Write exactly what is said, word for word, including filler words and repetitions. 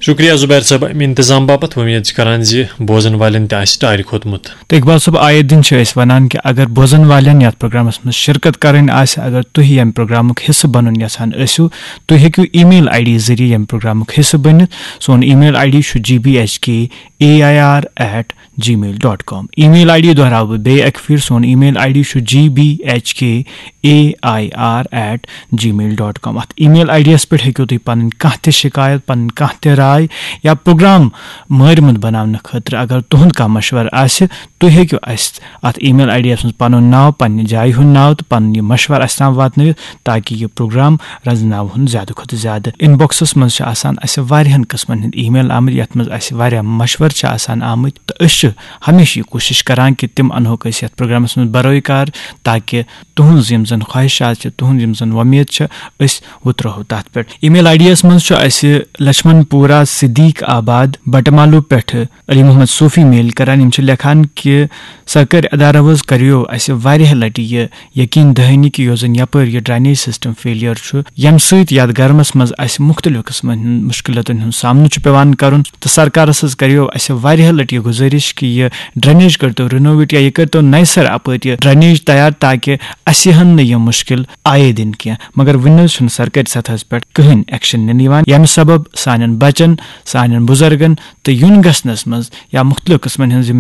شُکریہ زُبیر صٲب، اَمہِ اِنتظام باپتھ۔ وۄمید چھِ کران زِ بوزن والٮ۪ن تہِ آسہِ ٹارِ کھوٚتمُت۔ تہٕ اقبال صٲب، آیے دِن چھِ أسۍ وَنان کہِ اگر بوزن والٮ۪ن یَتھ پروگرامَس منٛز شرکت کَرٕنۍ آسہِ، اگر تُہۍ ییٚمہِ پروگرامُک حصہٕ بَنُن یَژھان ٲسِو، تُہۍ ہیٚکِو email ID ذٔریعہٕ ییٚمہِ پروگرامُک حصہٕ بٔنِتھ۔ سون email ID چھُ G B H K A I R at gmail dot com۔ Email ID دۄہراوٕ بہٕ بیٚیہِ اَکہِ پھِرِ، سون email ID چھُ G B H K A I R at gmail dot com۔ اَتھ email ID یَس پٮ۪ٹھ ہیٚکِو تُہۍ پَنٕنۍ کانٛہہ تہِ شِکایت، پَنٕنۍ کانٛہہ تہِ راے یا پروگرام مٲرمُت بَناونہٕ خٲطرٕ اگر تُہُنٛد کانٛہہ مَشوَرٕ آسہِ، تُہۍ ہیٚکِو اَسہِ اَتھ email ID یَس منٛز پَنُن ناو، پَنٕنہِ جایہِ ہُنٛد ناو تہٕ پَنُن یہِ مَشوَرٕ اَسہِ تام واتنٲوِتھ، تاکہِ یہِ پروگرام رَزناوہون زیادٕ کھۄتہٕ زیادٕ۔ Inbox منٛز چھِ آسان اَسہِ واریاہَن قٕسمَن ہٕنٛدۍ email آمٕتۍ، یَتھ منٛز اَسہِ واریاہ مَشوَرٕ چھِ آسان آمٕتۍ، تہٕ أسۍ چھِ ہمیشہِ یہِ کوٗشِش کَران کہِ تِم اَنہوکھ أسۍ یَتھ پروگرامَس منٛز بروے کار، تاکہِ تُہٕنٛز یِم زَن خواہِشات چھِ، تُہٕنٛز یِم زَن وۄمید چھِ، أسۍ وُترہو تَتھ پٮ۪ٹھ۔ Email ID یَس منٛز چھُ اَسہِ لَچھمَن پوٗرا صدیق آباد بَٹہٕ مالوٗ پٮ۪ٹھٕ علی محمد صوفی mail کران۔ یِم چھِ لیکھان کہِ سرکٲرۍ ادارو حظ کریو اسہِ واریاہ لٹہِ یہِ یقین دہانی کہِ یۄس زن یپٲرۍ یہِ drainage system failure چھُ، ییٚمہِ سۭتۍ یتھ گرمس منٛز اسہِ مختلف قٕسمن ہٕنٛدۍ مشکلاتن ہُنٛد سامنہٕ چھُ پٮ۪وان کرُن، تہٕ سرکارس حظ کریو اسہِ واریاہ لٹہِ یہِ گُزٲرِش کہِ یہِ drainage کٔرتو renovate یا یہِ کٔرتو نوِ سرٕ اپٲرۍ یہِ drainage تیار، تاکہِ اسہِ ہن نہٕ یہِ مشکل آیے دِنہٕ کینٛہہ۔ مگر وُنہِ حظ چھُنہٕ سرکٲرۍ سطحس پٮ۪ٹھ کٕہٕنۍ action نِنہٕ یِوان، ییٚمہِ سبب سانٮ۪ن بچن، سانٮ۪ن بُزرگن تہٕ یُن گژھنس منٛز یا مختلف قٕسمن ہٕنٛز یِم